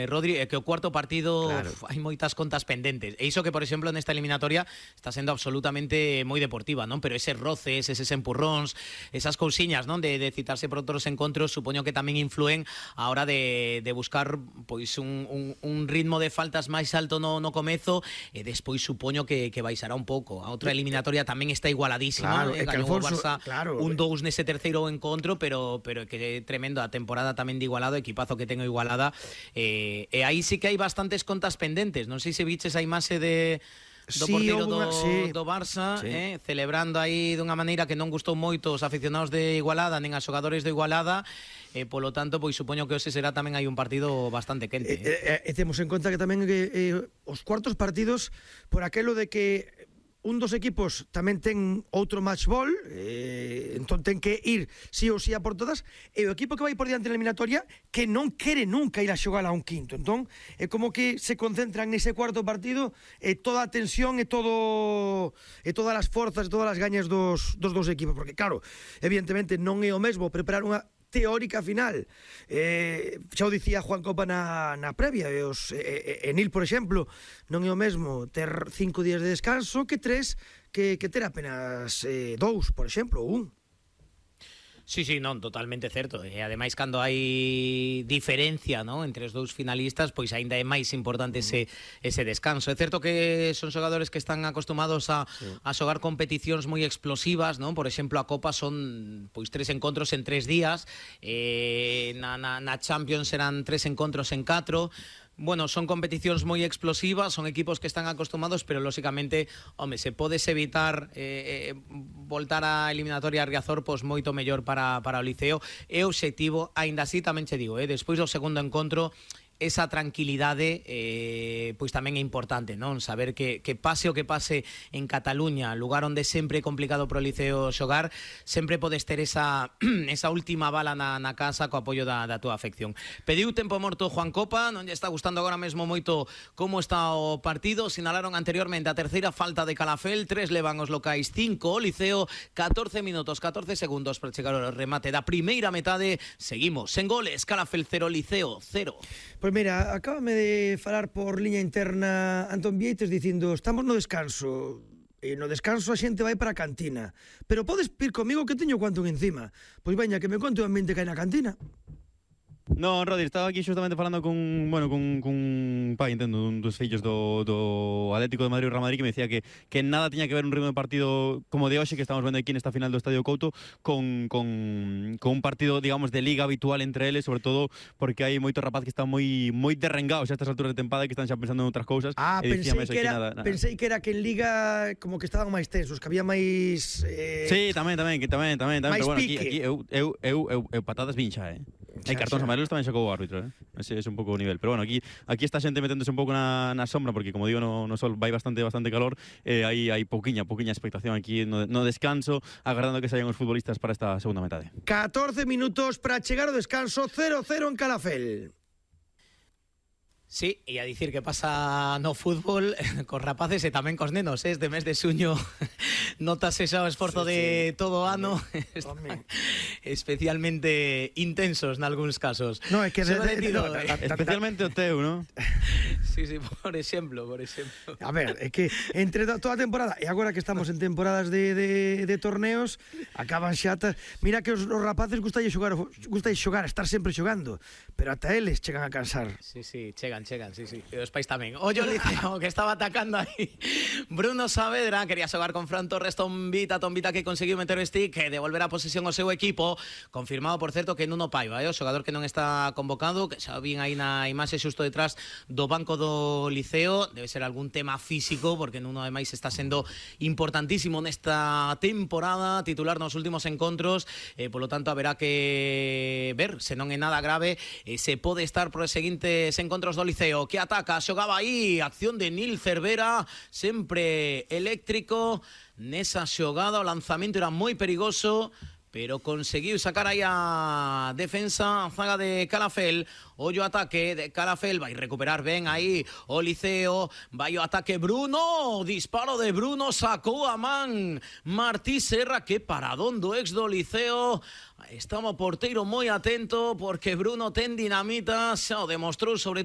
Rodri, que o cuarto partido claro. hai moitas contas pendentes. E iso que, por exemplo, nesta eliminatoria está sendo absolutamente moi deportiva, non? Pero eses roces, eses empurróns, esas cousiñas, non? De citarse por outros encontros, supoño que tamén influen a hora de buscar pois un ritmo de faltas máis alto no comezo, e despois supoño que baixará un pouco. A outra eliminatoria tamén está igualadísima, claro, gañou o Barça claro, un 2 nese terceiro encontro, pero que é tremendo a temporada tamén de Igualado, equipazo que ten o Igualada, e aí sí que hai bastantes contas pendentes. Non sei se viches a imaxe do porteiro do Barça, sí. celebrando aí dunha maneira que non gustou moito os aficionados de Igualada nen a xogadores de Igualada, polo tanto, pois supoño que hoxe será tamén hai un partido bastante quente. Temos en conta que tamén os cuartos partidos, por aquelo de que un dos equipos tamén ten outro match ball, entón ten que ir sí ou sí a por todas, e o equipo que vai por diante na eliminatoria que non quere nunca ir a xogar a un quinto. Entón é como que se concentran nese cuarto partido toda a tensión e todas as forzas, todas as gañas dos dos equipos, porque claro, evidentemente non é o mesmo preparar unha teórica final, xa o dicía Juan Copa na previa, Nil, por exemplo, non é o mesmo ter 5 días de descanso que 3, que ter apenas 2, por exemplo, ou 1. Sí, non, totalmente certo. E ademais, cando hai diferencia, non, entre os dous finalistas, pois aínda é máis importante ese descanso. É certo que son xogadores que están acostumados a xogar competicións moi explosivas, non? Por exemplo, a Copa son pois 3 encontros en 3 días, na Champions serán 3 encontros en 4. Bueno, son competicións moi explosivas, son equipos que están acostumados, pero lóxicamente, home, se podes evitar voltar á eliminatoria a Riazor, pois moito mellor para o Liceo. É o obxectivo, aínda así tamén che digo, despois do segundo encontro, esa tranquilidade pois tamén é importante, non? Saber que pase o que pase en Cataluña, lugar onde sempre é complicado pro Liceo xogar, sempre podes ter esa última bala na casa co apoio da túa afección. Pediu tempo morto Juan Copa, non lle está gustando agora mesmo moito como está o partido. Sinalaron anteriormente a terceira falta de Calafel, 3 levan os locais, 5 o Liceo, 14 minutos, 14 segundos para chegar ao remate da primeira metade. Seguimos sen goles, Calafel 0, Liceo 0. Pois mira, acábame de falar por liña interna Antón Vieites dicindo, estamos no descanso, e no descanso a xente vai para a cantina, pero podes vir comigo que teño cuanto encima. Pois veña, que me conte o ambiente que hai na cantina. No, Rodri, estaba aquí xustamente falando cun pai, entendo, un dos fillos do Atlético de Madrid e Real Madrid, que me decía que nada tiña que ver un ritmo de partido como de hoxe, que estamos vendo aquí nesta final do Estadio Couto, con un partido, digamos, de liga habitual entre eles, sobre todo porque hai moito rapaz que están moi derrengados a estas alturas de tempada, que están xa pensando en outras cousas. Pensei que era que en liga como que estaban máis tensos, que había máis... Sí, tamén, pero bueno, aquí eu patadas vinxa, hai cartóns amarelos tamén sacou o árbitro, ese é un pouco o nivel, pero bueno, aquí esta xente meténdose un pouco na sombra, porque como digo, no sol vai bastante calor, hai pouquiña expectación aquí no descanso, agardando que saian os futbolistas para esta segunda metade. 14 minutos para chegar ao descanso, 0-0 en Calafel. Sí, e a dicir que pasa no fútbol cos rapaces e tamén cos nenos, este mes de xuño notase xa o esforzo de todo o ano, especialmente intensos nalgúns casos. No, é que especialmente o teu, ¿no? Sí, por exemplo. A ver, é que entre toda a temporada e agora que estamos en temporadas de torneos, acaban xa mira que os rapaces gustai xogar, estar sempre xogando, pero ata eles chegan a cansar. Sí, chegan, sí. E os pais tamén. Ollo Liceo, que estaba atacando aí Bruno Saavedra, quería xogar con Fran Torres, Tombita que conseguiu meter o stick e devolver a posesión ao seu equipo. Confirmado, por certo, que Nuno Paiva, o xogador que non está convocado, que xa vin aí na imaxe xusto detrás do banco do Liceo. Debe ser algún tema físico, porque Nuno ademais está sendo importantísimo nesta temporada, titular nos últimos encontros, polo tanto haberá que ver se non é nada grave, se pode estar por os seguintes encontros do Liceo, que ataca, xogaba aí, acción de Nil Cervera, sempre eléctrico nesa xogada, o lanzamento era moi perigoso, pero conseguiu sacar aí a defensa, a zaga de Calafel. Ollo ataque de Calafel, vai recuperar ben aí o Liceo, vai o ataque Bruno, disparo de Bruno, sacou a man Martí Serra, que paradón do ex do Liceo. Estaba o porteiro moi atento, porque Bruno ten dinamita, xa o demostrou sobre todo